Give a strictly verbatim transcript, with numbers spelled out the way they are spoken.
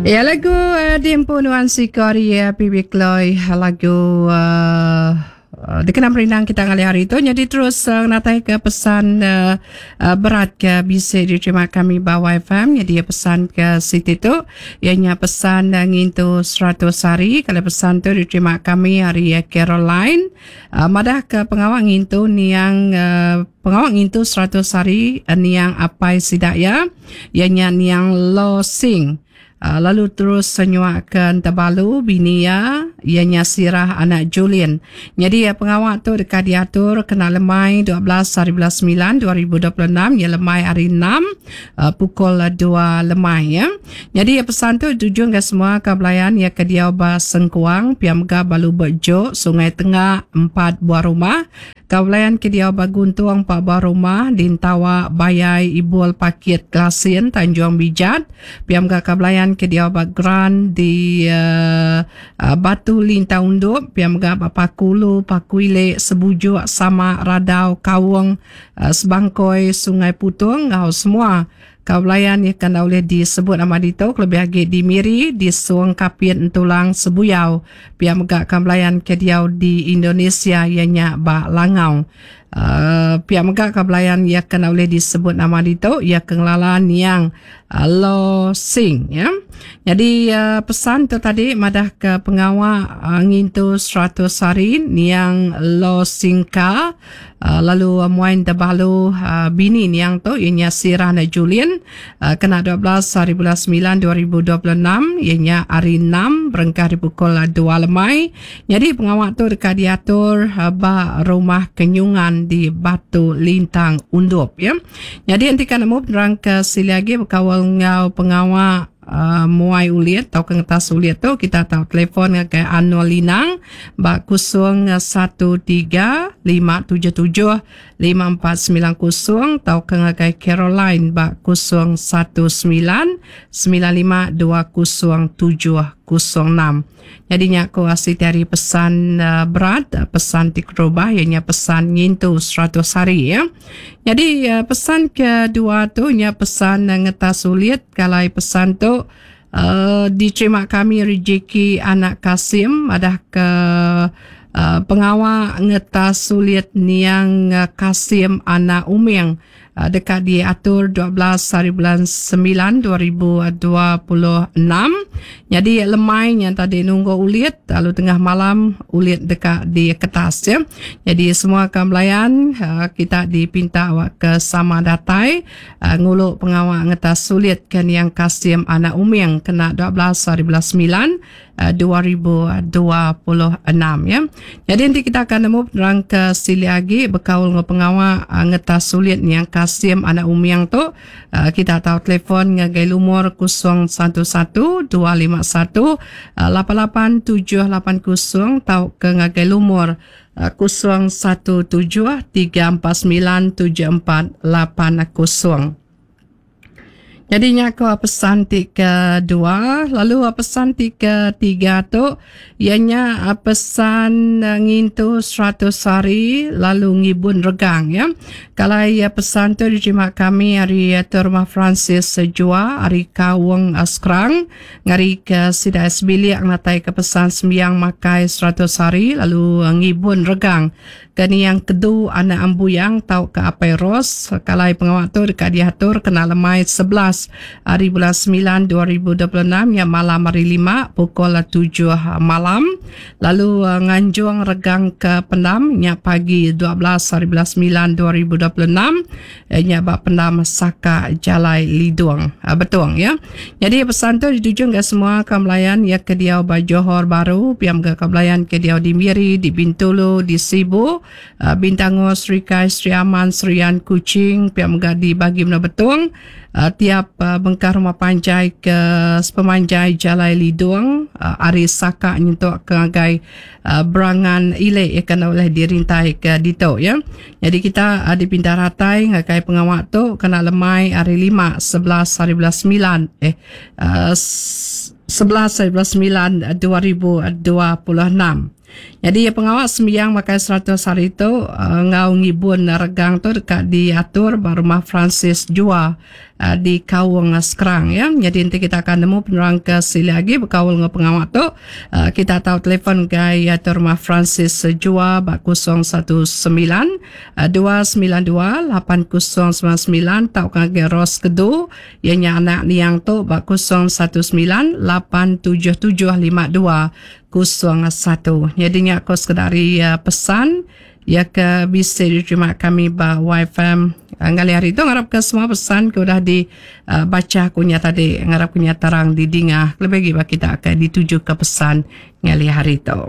Ya, lagu uh, diempu nuan siko ari uh, P B Chloe, lagu uh, uh, dikena merindang kita ngalih hari tu. Jadi terus uh, natai ke pesan uh, uh, berat ke bisa diterima kami ba Y F M. Jadi pesan ke siti tu ianya pesan uh, ngintu seratus hari. Kalau pesan tu diterima kami ari uh, Caroline, uh, madah ke pengawa ngintu niang uh, pengawa ngintu seratus hari uh, niang apai sidak ya, ianya niang Lo Sing. Uh, lalu terus senyuak ke Tebalu bini ya, ianya Sirah anak Julian. Jadi ya, pengawa tu dekat diatur kena lemai dua belas hari bulan sembilan dua ribu dua puluh enam, ya, lemai hari enam, uh, pukul dua lemai ya. Jadi ya, pesan tu tujuan ke semua ke belayan ya ke diau ba Sengkuang, Piam Ga Balu Bejo, Sungai Tengah empat buah rumah. Kaulayan ke diau ba Guntung empat buah rumah, Dintawa, Bayai, Ibul, Pakit, Klasin, Tanjung Bijat. Piam ga Kabelayan ke diau ba Gran di uh, uh, Batu Lintang Undup, piam ga ba Pakulu, Pakuile, Sebujuk, Sama, Radau, Kawung, uh, Sebangkoi, Sungai Putung, ngau semua Kaulayan yang kan boleh disebut nama dito, lebih lagi di Miri, di Suang Kapit, Entulang, Sebuyau. Pihak megak Kaulayan ke diau di Indonesia, ianya ba Langau. Uh, pihak megak Kaulayan yang kan boleh disebut nama dito, ia kengelalan yang uh, Lo Sing ya. Jadi uh, pesan tu tadi madah ke pengawa uh, ngintu seratus hari niang Lo Singka, uh, lalu uh, muain terbalu uh, bini niang tu ianya Sirah na Julian, uh, kena dua belas hari bulan sembilan dua ribu dua puluh enam, ianya hari enam, berengkah di pukul dua lemai. Jadi pengawal tu dekat diatur uh, ba rumah kenyungan di Batu Lintang Undup ya. Jadi nanti kan nemu penerang ke sili lagi berkawal ngau pengawal uh, muai ulit atau ke ngetas ulit tu, kita tahu telefon ke Anwar Linang bak kosong satu tiga lima tujuh tujuh lima empat sembilan kosong atau ke ngagai Caroline bak kosong satu sembilan sembilan lima dua kosong tujuh kosong enam. Jadi nya ko asli dari pesan uh, berat, pesan tikrobah, ianya pesan ngintu seratus hari ya. Jadi uh, pesan kedua tu nya pesan uh, ngetas sulit. Kalau pesan tu uh, diterima kami rezeki anak Kasim, ada ke uh, pengawal ngetas sulit niang uh, Kasim anak Uming, uh, dekat diatur dua belas hari bulan sembilan dua ribu dua puluh enam. Jadi lemai yang tadi nunggu ulit, lalu tengah malam ulit dekat di kertas ya. Jadi semua kembelayan uh, kita dipinta awak ke sama datai uh, nguluk pengawal ngetas sulit kan yang Kasim anak Uming kena dua belas hari bulan sembilan dua ribu dua puluh enam ya. Jadi nanti kita akan nemu penerang ke sili lagi berkaul dengan pengawal uh, ngetas sulit yang Kasim anak Umiang tu, uh, kita tahu telefon ngagai lumur kosong satu satu dua lima satu lapan lapan tujuh lapan kosong tau ke ngagai lumur kosong satu tujuh tiga empat sembilan tujuh empat lapan kosong. Jadi nya ko pesan ti kedua, lalu pesan ti ketiga tu ianya pesan ngintu seratus hari lalu ngibun regang ya. Kalau ia pesan tu diterima kami hari Rumah Francis Sejua hari Kawung Skrang, ngari ke Sida Sebilik ngatai ke pesan sembiang makai seratus hari lalu ngibun regang kani yang kedu anak ambuyang tau ke apai Ros. Kalau pengawal tu dekat diatur kena lemai sebelas hari bulan sembilan dua ribu dua puluh enam, yang malam hari lima, pukul tujuh malam, lalu uh, nganjung regang ke pendam nya pagi dua belas hari bulan sembilan dua ribu dua puluh enam, eh, nya bak pendam Saka Jalai Lidung, uh, Betung ya. Jadi pesan tu dituju ke semua kemelayan ya ke diau ba Johor Baru, piam ke kemelayan ke diau di Miri, di Bintulu, di Sibu, uh, Bintango, Srikai, Sri Aman, Serian, Kuching, piam ke di bagi Menua Betung, uh, tiap uh, bengkah rumah panjai ke sepemanjai Jalai Lidung, uh, ari Saka nyentuk ke ngagai uh, Berangan Ile ya kena oleh dirintai ke dito ya. Jadi kita uh, dipindah ratai ngagai pengawak tu kena lemai hari lima, sebelas hari bulan sembilan, eh uh, sebelas hari bulan sembilan dua ribu dua puluh enam. Jadi pengawal sembiang makai seratus hari itu uh, ngau ngibun regang tu dekat diatur ba rumah Francis Jua. uh, di Kaung Skrang ya. Jadi nanti kita akan nemu penerang ke sila lagi berkaul dengan pengawal tu. Uh, kita tahu telefon gai atau rumah Francis Jua bak kosong satu sembilan dua sembilan dua lapan kosong sembilan sembilan tau ke Ros Kedu ianya anak niang tu bak kosong satu sembilan lapan tujuh tujuh lima dua kosong satu. Jadi nya aku sekedar uh, pesan ya ke bisa diterima kami ba Y F M ngali hari itu. Ngarap ke semua pesan ke udah dibaca uh, kunya tadi, ngarap kunya terang di dingah lebih lagi kita akan dituju ke pesan ngali hari itu.